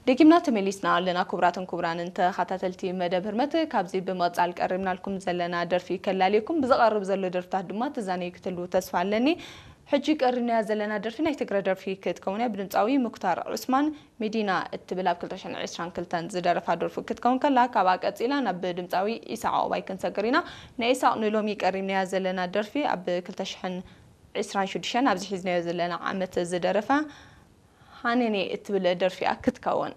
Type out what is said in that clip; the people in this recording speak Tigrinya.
ደጊምና ተመሊስና ኣለና። ክቡራትን ክቡራንን ተኸታተልቲ መደብ ህርመት፣ ካብዚ ብምቕጻል ቀሪብናልኩም ዘለና ደርፊ ከላልየኩም፣ ብዝቐርብ ዘሎ ደርፍታት ድማ ትዛነዩ ክትህልዉ ተስፋ ኣለኒ። ሕጂ ቀሪብናያ ዘለና ደርፊ ናይ ትግረ ደርፊ ክትከውን እያ። ብድምጻዊ ሙክታር ዑስማን፣ ሚዲና እትብል ኣብ ክልተ ሽሕን ዕስራን ክልተን ዝደረፋ ደርፊ ክትከውን ከላ፣ ካብኣ ቀጺላ ናብ ድምጻዊ ኢሳቕ ዑቕባይ ክንሰግር ኢና። ናይ ኢሳቕ ንሎሚ ቀሪብናያ ዘለና ደርፊ ኣብ ክልተ ሽሕን ዕስራን ሽዱሽተን ኣብዚ ሒዝናዮ ዘለና ዓመት ዝደረፋ ሃነኔ እትብል ደርፊ እያ ክትከውን።